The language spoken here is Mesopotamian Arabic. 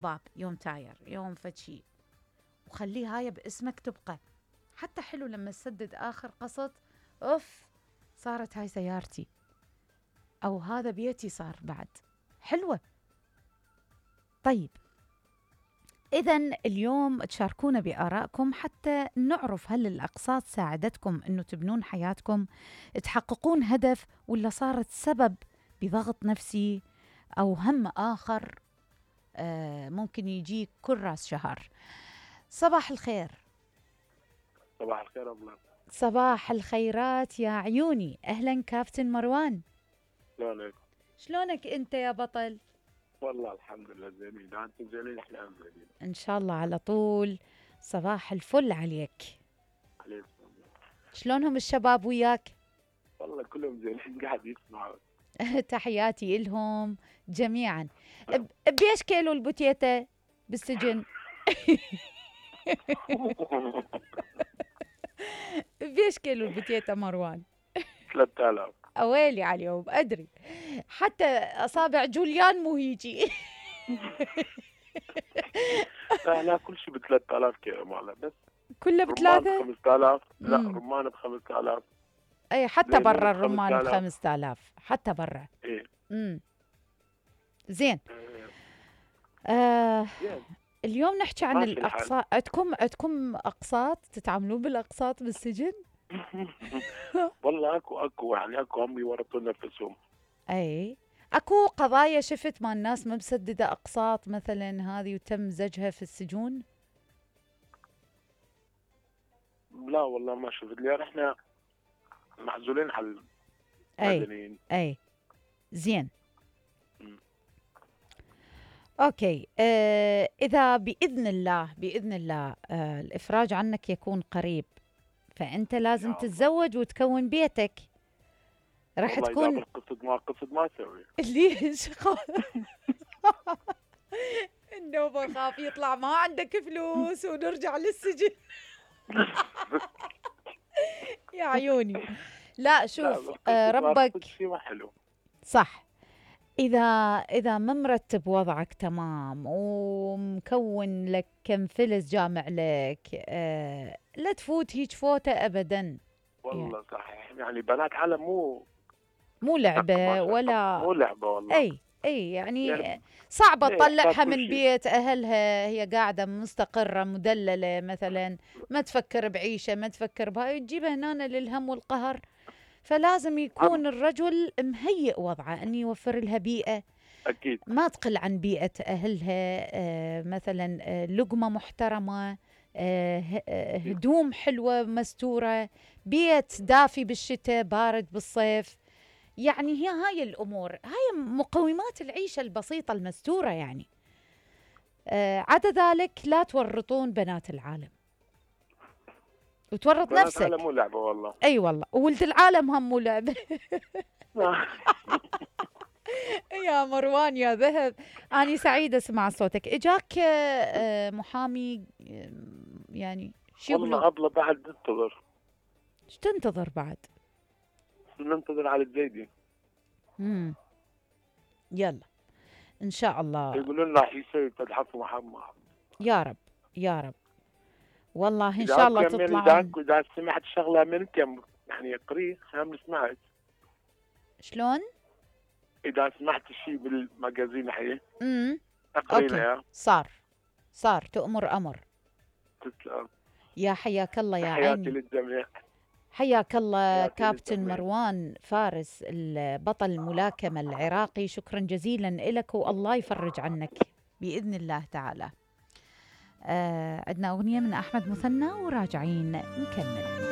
باب يوم تاير يوم فشي، وخليه هاي باسمك تبقى. حتى حلو لما تسدد آخر قسط، أوف صارت هاي سيارتي أو هذا بيتي صار بعد، حلوة. طيب إذن اليوم تشاركونا بآرائكم حتى نعرف هل الأقساط ساعدتكم أنه تبنون حياتكم، تحققون هدف، ولا صارت سبب بضغط نفسي أو هم آخر ممكن يجيك كل راس شهر. صباح الخير. صباح الخير أبلة. صباح الخيرات يا عيوني، أهلا كابتن مروان. شلونك؟ شلونك أنت يا بطل؟ والله الحمد لله زينين، إذا أنتم زينين إحنا زينين إن شاء الله على طول. صباح الفل عليك. عليكم. شلونهم الشباب وياك؟ والله كلهم زينين قاعد يسمعوا. تحياتي إلهم جميعا. بيش كيلو البوتيتا بالسجن؟ بيش كيلو البوتيتا مروان؟ 3000. أويلي عليهم أدري، حتى أصابع جوليان مو هيجي. لا كل شيء ب 3000 كيلو ماله، بس كله رمان ب3. ب 5000. لا رمان ب 5000. أي حتى برا الرمان ب5000 حتى برا. إيه. زين. اليوم نحكي عن الأقساط. عندكم أقساط؟ تتعاملون بالأقساط بالسجن؟ والله اكو يعني اكو هم يورطون نفسهم. اي اكو قضايا شفت مع الناس ما مسدده اقساط مثلا هذه وتم زجها في السجون؟ لا والله ما شفت لي، احنا معزولين على المدنيين. اي زين. اوكي. اذا باذن الله الافراج عنك يكون قريب، فانت لازم تتزوج وتكون بيتك. راح تكون قصد ما اسوي. ليش؟ النوبة خاف يطلع ما عندك فلوس ونرجع للسجن. يا عيوني. لا شوف، ربك صح. إذا ما مرتب وضعك تمام ومكون لك كم فلس جامع لك، لا تفوت هيج فوتة أبدا. والله يعني. صحيح، يعني بنات عالم مو لعبة ولا مو لعبة والله. اي يعني صعبة تطلعها من بيت اهلها، هي قاعدة مستقرة مدللة مثلا، ما تفكر بعيشة، ما تفكر بهاي، تجيبها هنا للهم والقهر. فلازم يكون الرجل مهيئ وضعه ان يوفر لها بيئة اكيد ما تقل عن بيئة اهلها، مثلا لقمة محترمة، هدوم حلوة مستورة، بيت دافي بالشتاء بارد بالصيف. يعني هي هاي الأمور، هاي مقومات العيشة البسيطة المستورة يعني. عدا ذلك لا تورطون بنات العالم وتورط بنات نفسك. العالم مو لعبة والله. أي والله، وولد العالم هم مو لعبة. يا مروان يا ذهب، أنا سعيدة أسمع صوتك. إجاك محامي يعني شو يقولون؟ والله أبلة بعد ننتظر. ايش تنتظر بعد؟ ننتظر على الزيدي. يلا ان شاء الله. يقولون راح يصير تلحق محمد. يا رب يا رب، والله ان شاء الله تطلع. اذا سمعت شغله من كم يعني قري هم سمعت. شلون؟ اذا سمعت شيء بالمجازين حي اوكي. صار تؤمر امر. تسلم يا حياك الله يا عيني. حياتي للجميع. حياك الله كابتن مروان فارس البطل الملاكمة العراقي، شكرا جزيلا لك والله يفرج عنك بإذن الله تعالى. عندنا أغنية من أحمد مثنى وراجعين نكمل.